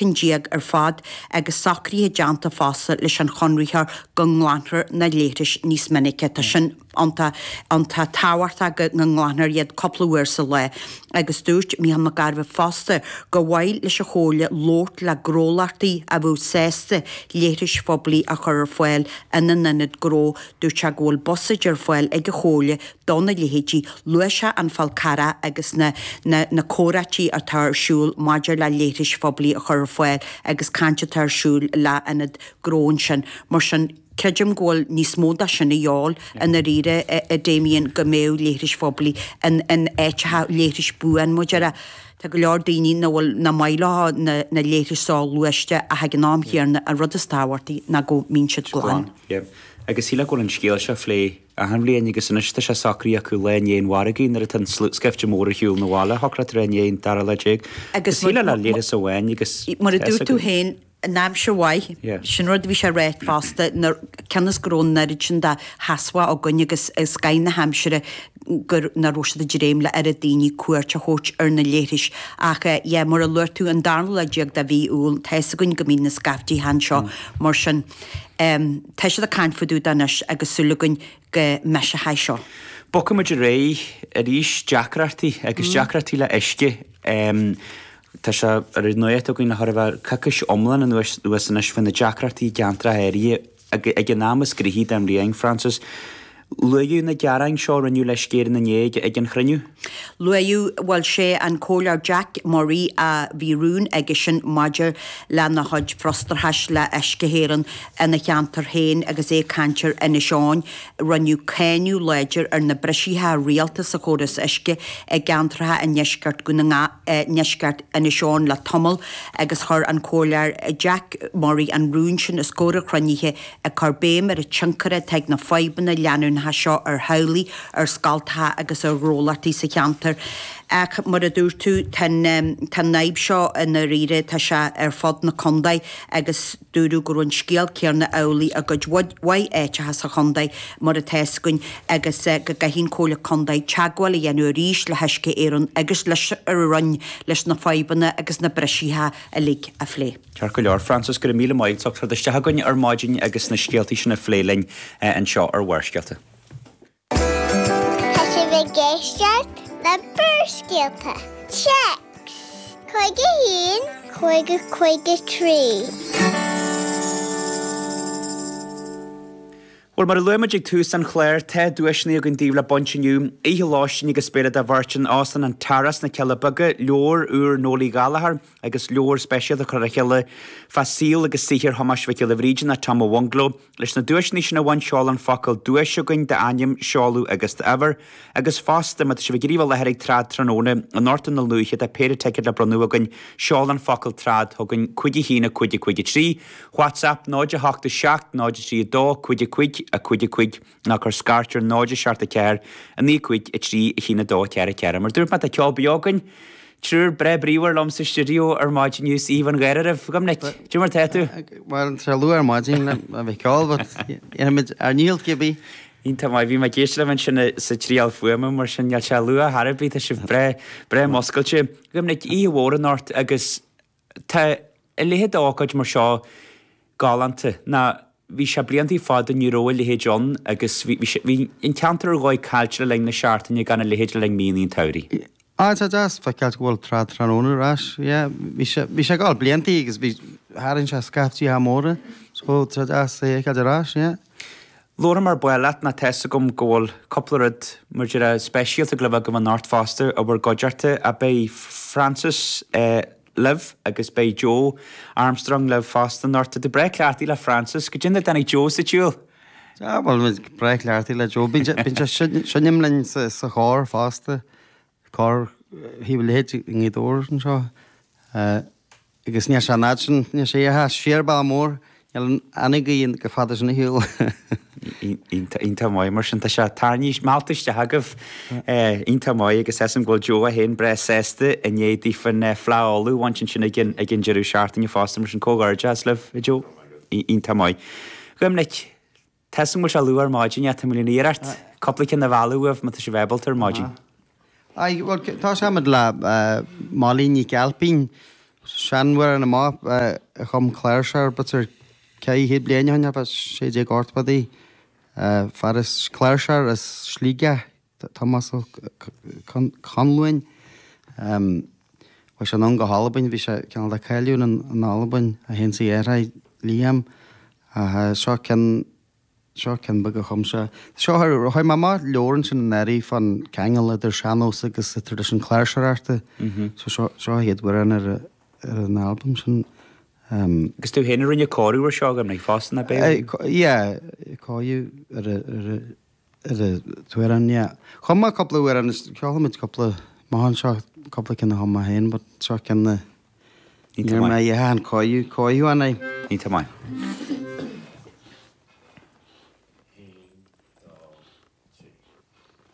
Cinn ar fad agus socruithe déanta fosta leis an chonraitheoir go nglanfar na leithris níos minice. Tá sin iontach, iontach tábhachtach go nglanfar iad cúpla uair sa lá. Agus dúirt Micheál Mac Gairbheith fosta gur mhaith leis an Chomhairle labhairt le gnólachtaí a bheadh sásta leithris phoiblí a chur ar fáil ina n-ionad gnó. Dúirt sé go bhfuil buiséid ar fáil ag an Chomhairle dona leithéidí. Luaigh sé an Fál Carrach agus na na comhráití atá ar siúl maidir le leithris phoiblí a chur ar fáil agus caint atá ar siúl le ionad gnó ansin. Mar sin, creidim go bhfuil níos mó de sin a dhíobháil i ndáiríre, a Damien, go mbeadh leithris phoiblí in in áiteacha, leithris buan mar a déarfá. Tá go leor daoine nach bhfuil, nach maith leo na na leithris soghluaiste ach ag an am chéanna an rud is tábhachtaí ná go mbíonn siad glan. Yeah. Agus shílfeá go bhfuil an scéal seo á phlé achan bhliain agus anois tá sé socraithe acu lá i ndiaidh an mhargaidh nuair atá an scaifte mór ar shiúl 'na bhaile, shocródh tú i ndiaidh an dara lá déag. Agus shílfeá le leithreas amháin agus Mar a dúirt tú féin, in aimsir mhaith, sin rud a bhí sé ráite fosta, cionn is go raibh an oiread sin de theasmhá againn agus scoth na haimsire gur nach raibh siad ag dréim le oiread daoine cuairt a thabhairt ar na leithris. Ach yeah, mar a luaigh tú, an darna lá déag de mhí Iúil, tá fhios againn go mbíonn na scaiftí anseo, mar sin. Tá siad ag caint fá dtaobh de anois agus súil againn go mbeidh sé seo. Bogfaidh muid ar aghaidh arís, deacrachtaí agus deacrachtaí le uisce. Tá sé ar an nuacht againn le chóir a bheith coicís iomlán anuas anois faoi na deacrachtaí i gceantracha áirithe ag an am is gnoithí den bhliain, Frances. Luaíodh na gearáin seo a rinneadh le Uisce Éireann inné ag an chruinniú. Luaíodh, bhuel, sé an Comhairleoir Jack Murray a bhí rún aigesean maidir lena chuid frustrachais le Uisce Éireann ina cheantar féin agus é ag caint ar Inis Eoghain. Rinneadh cáineadh láidir ar na briseacha rialta sa chóras uisce i gceantracha i ndeisceart Dhún na nGall, ndeisceart Inis Eoghain le tamall agus chuir an Comhairleoir Jack Murray an rún sin os comhair an chruinnithe ag cur béim ar an tionchar atá ag na fadhbanna leanúnacha seo ar theaghlaigh, ar scoltacha agus ar ghnólachtaí sa cheantar. Ach mar a dúirt tú, tá an fhadhb seo i ndáiríre, tá sé ar fud na contae agus dúradh go raibh an scéal céanna amhlaidh i gcuid mhaith áiteacha sa chontae mar atá fhios againn agus go gcaithfidh an Chomhairle Contae teagmháil a dhéanamh arís le hUisce Éireann agus leis an Roinn leis na fadhbanna agus na briseacha uilig a phlé. Ceart go leor, Frances, go raibh míle maith agat as ucht teacht isteach chugainn ar maidin agus na scéaltaí sin a phlé linn anseo ar Bharrscéalta. Tá sibh ag éisteacht le Barrscéalta. Téacs 51 50 53. Bhuel, mar a luaigh muid ag tús an chláir, tá duaiseanna againn daoibh le baint inniu, oíche lóistín agus béile do bheirt in Óstlann an Tara sna Cealla Beaga, leabhar úr Noel Uí Ghallchóir agus leabhar speisialta curtha le chéile fá saol agus saothar Thomáis Mhic Giolla Bhríde nó Tom a' Bhungaló. Leis na duaiseanna sin a bhaint, seol an focal 'duais' chugainn, d'ainm, seoladh agus d'uimhir. Agus fosta, má tá sibh ag iarraidh a bheith i láthair ag Trad tráthnóna anocht i nDún Lúiche, tá péire ticéad le bronnadh againn, seol an focal 'Trad' chugainn, 5 1 5 5 3. WhatsApp 0 8 7 0 3 2 5 5 5 5 nó cuir scairt ar 0 7 4 9 5 3 1 2 4 4. Mar dúirt mé tá ceol beo againn. Triúr breá bríomhar liom sa stiúideo ar maidin inniu is aoibh an gháire oraibh. A Dhoiminic, cad é mar tá tú? Bhuel, tá sé luath ar maidin le bheith ag ceol, but dhéanfaimid ár ndícheall cibé. Iontach maith, bhí mé ag éisteacht libh ansin sa triail fuaime mar sin níl sé luath chor ar bith, tá sibh breá, breá muscailte. A Dhoiminic, oíche mhór anocht agus Tá a leithéid d'ócáid mar seo galánta. Ná bhí sé bliantaí fada ní raibh a leithéid ann agus bhí, bhí sé, bhí an ceantar ar dhóigh caillte le linn na seachtaine gan a leithéid le linn míonna an tsamhraidh. Á, tá deas feiceáilt go bhfuil Trad Tráthnóna ar ais. Yeah, bhí sé, bhí sé ag gabháil bliantaí agus bhí, tharraing sé scaiftí móra, so tá deas é a fheiceáilt ar ais, yeah. Labharfaidh mé ar ball leat nó tá fhios agam go bhfuil cúpla rud mar a déarfá speisialta ag gabháil a bheith agaibh anocht fosta i bhur gcuideachta ach beidh Frances libh agus beidh Joe Armstrong libh fosta anocht. Tá tú breá cleachtaithe le Frances. Goidé mar a dtáinig Joe sa tsiúl? Ah bhuel muid breá cleachtaithe le Joe. Bíonn sé bíonn sé seinm linn sa sa chór fosta. Cór Thaobh an Leithid i nGaoth Dobhair anseo. Agus níl sé an fhad sin, níl sé ach siar bealach mór, níl an ghaoth chomh fada sin ar shiúl. Iontach maith mar sin, tá sé tarraingthe, meallta isteach agaibh. Iontach maith agus is dóigh go bhfuil Joe é féin breá sásta i ndiaidh daofa an Fleadh Uladh a bhaint ansin ag an ag an deireadh seachtaine fosta mar sin comhghairdeas libh, a Joe. Iontach maith. Dhoiminic, tá 'fhios a'm go bhfuil sé luath ar maidin ach tá mé le iarracht cúpla ceann a mhealladh uaibh má tá sibh ábalta ar maidin. Aye, bhuel, tosóimid le Molly Nic Ailpín. seanamhrán amach a chum cláirseoir b'fhéidir 400 bliain ó shin, thart fá 1680idí. Fear as cláirseoir as Sligeach, Tomás Ó Conluain. Chuaigh sé anonn go hAlbain, bhí sé cineál de cáiliúil in Albain, é féin is a dheartháir Liam. Ach seo ceann Seo ceann beag a chum sé. Seo, chuir mé amach leabhar ansin anuraidh fán ceangal idir sean-nós agus traidisiún cláirseoireachta. So seo, seo a chéad amhrán ar ar an albam sin. Agus tú féin a rinne cóiriú ar seo go mbeidh fosta, nach ea? Yeah, cóiriú ar ar ar an t-amhrán, yeah. Chum mé cúpla amhrán, ceolfaimid cúpla amach anseo, cúpla ceann a chum mé féin, but seo ceann na, Iontach maith. Níor mé a dhéanfadh an cóiriú, cóiriú ann é. Iontach maith.